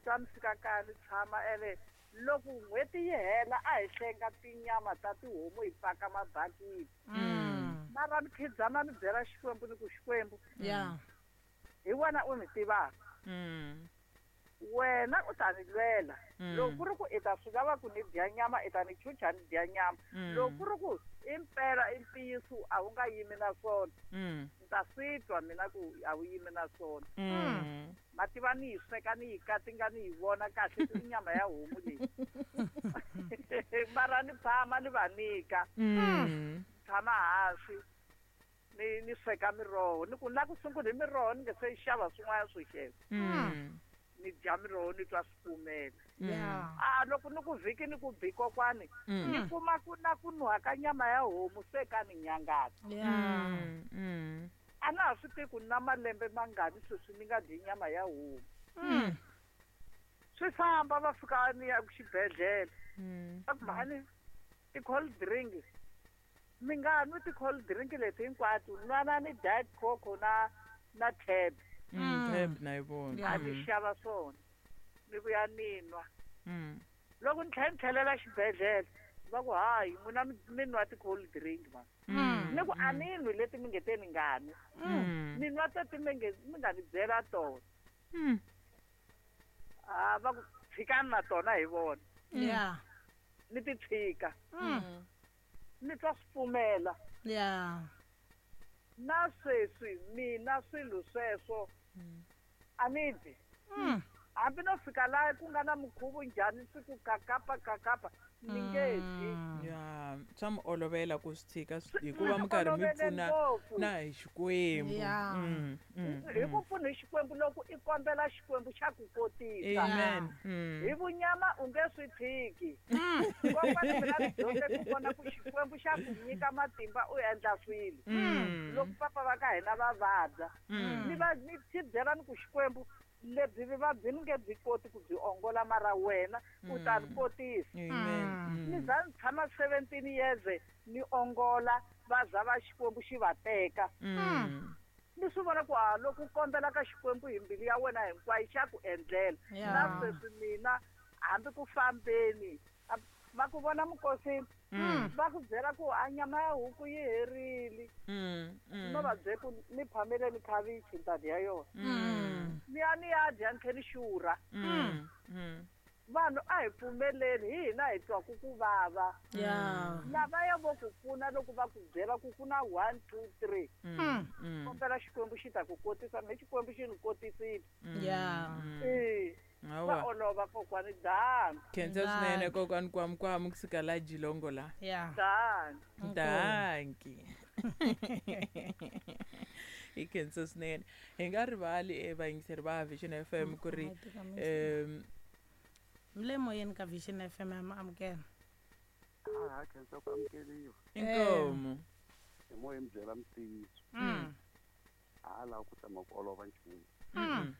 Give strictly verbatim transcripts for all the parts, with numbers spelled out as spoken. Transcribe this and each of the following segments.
twa ni fika kaya ni tshama ene loko n'hweti yi hela a hi hlenga tinyama ta tihomu hi paka mabakiti. Mm. Mara ni khidzama ni byela Xikwembu ni ku Xikwembu Yeah. hi wena u ni tivaka. Mm. Wena u ta ni lwela. Mm. Loko ku ri ku i ta swi lava ku ni dya nyama i ta ni chucha ni dya nyama. Mm. Loko ku ri ku i mpela i ntiyiso a wu nga yimi na swona. Mm. Ni ta swi twa mina ku a wu yimi na swona. Mm. Mativa ni yi sweka ni yi katinga ni yi vona kahle ku i nyama ya homu leyi. Mara ni tshama ni va nyika. Mm. Tshama hansi ni ni sweka miroho ni ku ni lava ku sungula hi miroho ni nge se xava swin'wana swo xeva. Mm. Ni dya miroho ni twa swi pfumela. Yeah. A loko ni ku vhiki ni ku bi kokwani Mm. ni kuma ku na ku nuha ka nyama ya homu se ka ni nyangatsa. Yeah. Mm. Mm. A na ha swi tivi ku ni na malembe mangani sweswi ni nga dyi nyama ya homu. Mm. Swi famba va fika ni ya xibedhlele. Mm. Va ku mhani ti-cold drink mi nga nwi ti-cold drink leti hinkwato nwana ni Diet Coke na na Tab. Mm. Tab na yi vona. Yeah. A ni xava swona ni vuya ni nwa. Mm. Loko ni tlhela ni tlhelela xibedhlele va ku hayi n'wina mi mi nwa ti-cold drink ma. Mm. Ni ku a ni nwi leti mi nge te ni nga nwi. Mm. Ni nwa teti mi nge mi nga ni byela tona. Mm. A va ku tshikani na tona hi vona. Yeah. Ni ti tshika. Mm. Ni twa swi pfumela. Yeah. Na sweswi mina swilo sweswo a ni dyi. Mm. Hambi no fika laha ku nga na mukhuvo njhani swi ku kakapa kakapa ni nge dyi. Ya, swa mi olovela ku swi tshika Swi hikuva mi karhi mi olovele pfuna ngopfu. na hi Xikwembu. Yeah. Mm. Mm. Hi ku pfuna hi Xikwembu loko i kombela Xikwembu xa ku kotisa. Amen. Mm. Hi vunyama u nge swi tshiki. Kokwani mina ni dyondze ku vona ku Xikwembu xa ku nyika matimba u endla swilo. Mm. Loko papa va ka hina va vabya Mm. ni va ni xi byela ni ku Xikwembu lebyi vuvabyi ni nge byi koti ku byi ongola mara wena u ta ni kotisa. Amen. Ni Mm. za ni tshama seventeen years ni ongola va za va Xikwembu xi va teka. Mm. Ni swi vona ku a loko u kombela ka Xikwembu hi mbilu ya wena hinkwayo xa ku endlela. Yeah. Na sweswi mina hambi ku fambeni a- va ku vona mukosini Mm. va ku byela ku a nyama ya huku yi herile. Mm. Mm. No va byela ku ni phameleni khavichi ni ta dya yona. Mm. Ni ya ni ya dya ni tlhela ni xurha. Mm. Mm. Vanhu a hi pfumeleni hi hina hi twaku ku vava. Yeah. Lavaya vo ku pfuna loko va ku byela ku ku na one two three. Mm. Mm. Kombela Xikwembu xi ta ku kotisa me Xikwembu xi ni kotisile. Yeah. Mm. Eh, va Hawa. olova kokwani dani. Khensa swinene kokwani Kwamukwamu kusuka la Jilongo la. Yeah. Dani. Dankie. Hi khensa swinene. Hi nga rivali eh, vayingiseri va Vision F M ku ri um Mi le moyeni ka Vision F M ya mi amukela. A khensa ku amukeliwa. Inkomo. Hi moya mi byela mutiyiso. Mm. A laha ku tshama ku olova nchumu. Mm.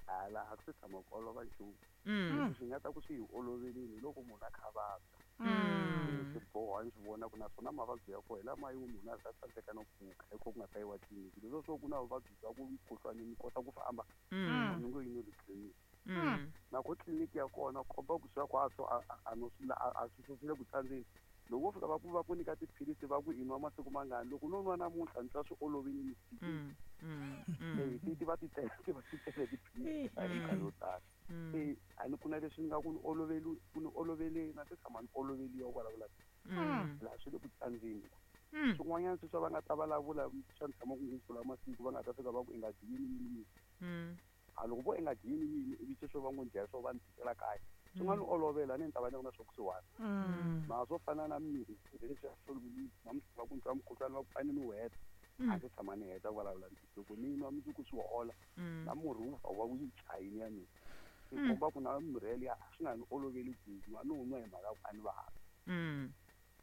A laha ku tshama ku olova nchumu. Mm. Leswi swi nga ta ku swi hi olovelini loko munhu a kha a vabya. Mm. Swi boha ni swi vona ku naswona mavabyi ya kona hi lama yo munhu a za tsandzeka no pfuka hi ko ku nga ta yiwa tliliniki. Leswo swo ku na vuvabyi bya ku mukhuhlwani mi kota ku famba. Mm. Munhu ngo yini le tliliniki. Mm. Na ku tliliniki ya kona komba ku swa ku a swo a a no swi la a swi swi le ku tsandzeni. Loko wo fika va ku va ku nyika tiphilisi va ku i nwa masiku mangani loko no nwa namuntlha ni twa swi olovile ni swi Mm. Mm. Mm. Eh, ti ti va ti tele, ti va ti tele tiphilisi ta minkarhi yo tala. Mm. Eh, a ni ku na leswi ni nga ku ni oloveli, ku ni oloveli na se tshama ni oloveliwa ku vulavula. Mm. Laha swi le ku tsandzeni. Mm. Swin'wanyana sweswi va nga ta vulavula swa ni tshama ku ngopfu la masiku va nga ta fika va ku i nga dyi yini yini yini. Mm. A loko vo i nga dyi yini yini ivi sweswo va ngo dya swo va ni tikela kaya. Swi nga ni olovela ni ta va ni ri na swo kusuhani. Mm. Mara swo fana na mirhi leswi a swi namuntlha va ku ni twa mukhuhlwani va ku fane ni wu heta. Mm. A ndzi tshama ni heta ku vulavula ntiyiso. Loko ni nwa mundzuku swi hola Mm. na murhi wu va wu yi chayini ya mina. Swi Mm. komba ku na mirhi yaliya swi nga ni oloveli ku nwa ni wu nwa hi mhaka ya ku a ni vabyi. Mm.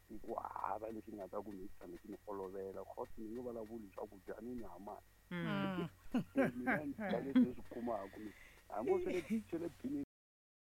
Hi ku hava leswi ni nga ta ku ni tshame swi ni olovela cause ni nge vulavuli swakudya ni ni hamani. Mm. Mina ni dya leswi ni swi kumaka mina. Hambi swi le swi le binini